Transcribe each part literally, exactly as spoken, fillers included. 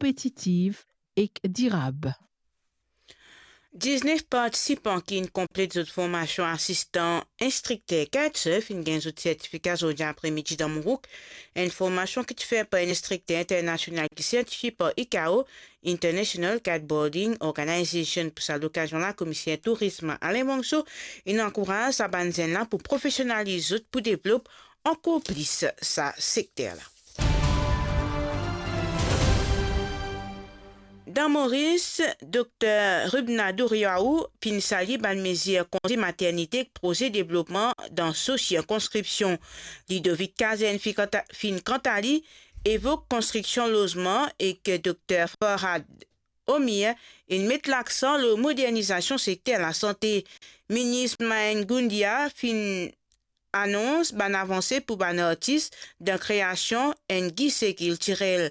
konpetitiv ek dirab. Diznef partisipan ki'nn konplet zot formasion asistan instrikter kitesurf finn gagn zot sertifika zordi apre midi dan Mourouk, enn formasion ki ti fer par enn instrikter internasional ki sertifie par I C A O, International Kiteboarding Organization. Pou sa lokazion la, Komiser Tourism Alain Monso inn ankouraz sa bann zenn la pou profesionaliz zot pou devlop ankor plis sa sekter la. Dan Moris, Dokter Rubna Douriaou finn salie bann mezir konze maternite ek proze devlopman dan so sirkonskripsion. Ludovic Kazem finn kanta-, finn kanta li evok konstriksion lozman ek Dokter Farhad Omir inn met laksan lor modernizasion sekter lasante. Minis Mahengo Gundea finn anons bann avanse pou bann artis dan kreasion enn gise kiltirel.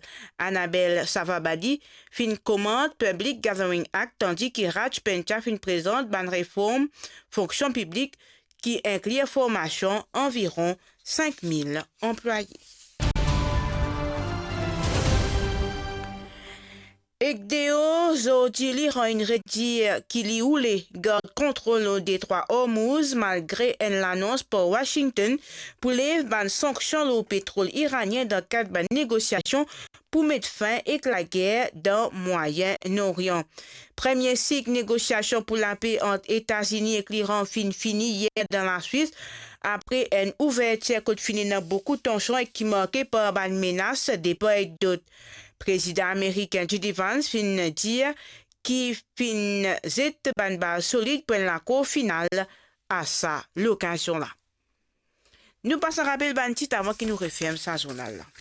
Annabelle Savabadi finn komant Public Gathering Act, tandis ki Raj Pencha finn prezant bann reform fonksion piblik ki inkli formasion anviron sink mil anplwaye. Ek deor, zordi li rann redir ki li oule gard kontrol lor Detrwa Ormouz, malgre enn lanons par Washington pou lev bann sanksion lor petrol iranien dan kad bann negosiasion pou met fin ek lager dan Mwayen Orian. Premie sik negosiasion pou lape ant Etazini ek Liran finn fini yer dan Laswis, apre enn ouvertir kot finn ena boukou tansion ek ki marke par bann menas de par ek dot. Prezidan amerikin J D Vance finn dir ki finn zet bann baz solid pou enn lakor final a sa lokazion la. Nou pas rapel bann tit avan ki nou referm sa zournal la.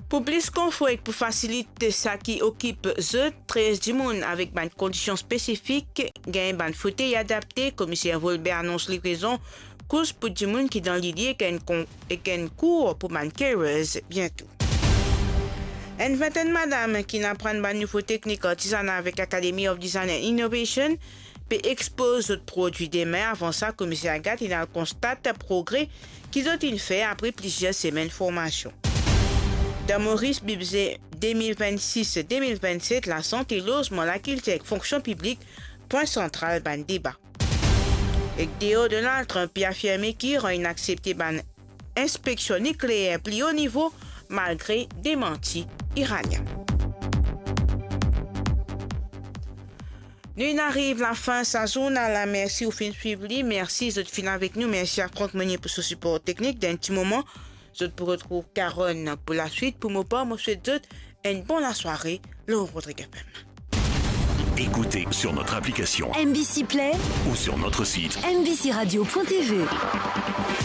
Pou plis konfor ek pou fasilit sa ki okip zot, trez dimoun avek bann kondision spesifik gagn bann fotey adapte. Komiser Volbert anons livrezon kous pou dimoun ki dan lili ek enn kon-, ek enn kour pou bann carers biento. Enn vintenn madam ki'nn aprann bann nouvo teknik artizana avek Academy of Design and Innovation pe expoz zot prodwi de min. Avan sa, Komiser Agathe inn al konstat progre ki zot inn fer apre plizier semenn formasion. Dan Moris, bidze de mil vennsis de mil vennset, lasante, lozman, lakiltir ek fonksion piblik, pwin santral bann deba. Ek deor, Donald Trump pe afirme ki Iran inn aksepte bann inspeksion nikleer pli o nivo, malgre demanti iranien. Nou inn ariv lafin sa zournal la. Mersi ou finn swiv li. Mersi zot finn avek nou. Mersi a Franck Meunier pou so sipor teknik. Dan enn ti moman, zot pou retrouv Carole pou laswit. Pou mo par, mo swet zot enn bon lasware lor Rodrigue F M. Écoutez sur notre application M B C Play ou sur notre site M B C radio point T V.